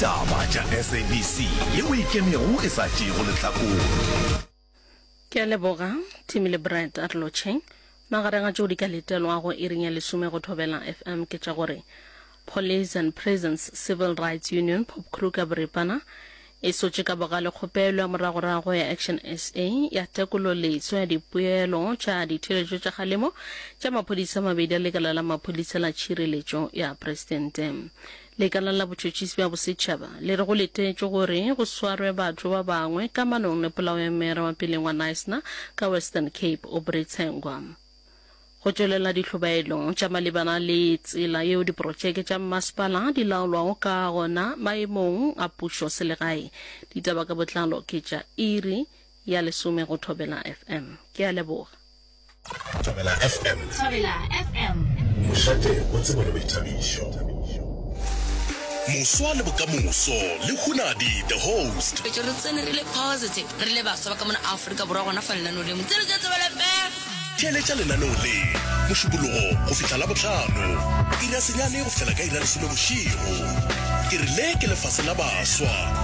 Ditaba tša SABC yeo e ikemego e sa tšeego lehlakore. Ke a leboga, Timmy le Brad a re lotšheng. Magareng a tšeo di ka letelwago iring ya lesome go Thobela FM ke tša gore Police and Prisons Civil Rights Union, Popcru ka boripana, e sotše ka bogale kgopelo ya moragorago ya Action SA ya tekololeswa ya dipoelo tša ditheeletšo tša kgalemo tša maphodisa a mabedi a lekala la maphodisa la tšhireletšo ya presidente. Lekala la Botšhotšhisi bja Bosetšhaba le re go letetšwe gore go swarwe batho ba bangwe kamanong le polao ya meyara wa peleng wa Knysna ka Western Cape, Aubrey Tsengwa. Go tšwelela dihlobaelo tša malebana le tsela yeo diprotšeke tša mmasepala di laolwago ka gona maemong a pušo selegae. Ditaba ka botlalo ke tša iri ya lesome go Thobela FM. Ke a leboga. Thobela FM. Thobela FM. Mošate wa tsebo le boithabišo. Moswa le bokamoso le Hunadi the host. Re tsene re le positive re le baswa ba ka mona Afrika Borwa gona fa lenaneo le mo tsene tša Thobela FM. Theeletša lenaneo le Mošupologo go fihla Labohlano, iri ya senyane go fihlela ka iri ya lesome bošego. Ke re le ke lefase la baswa.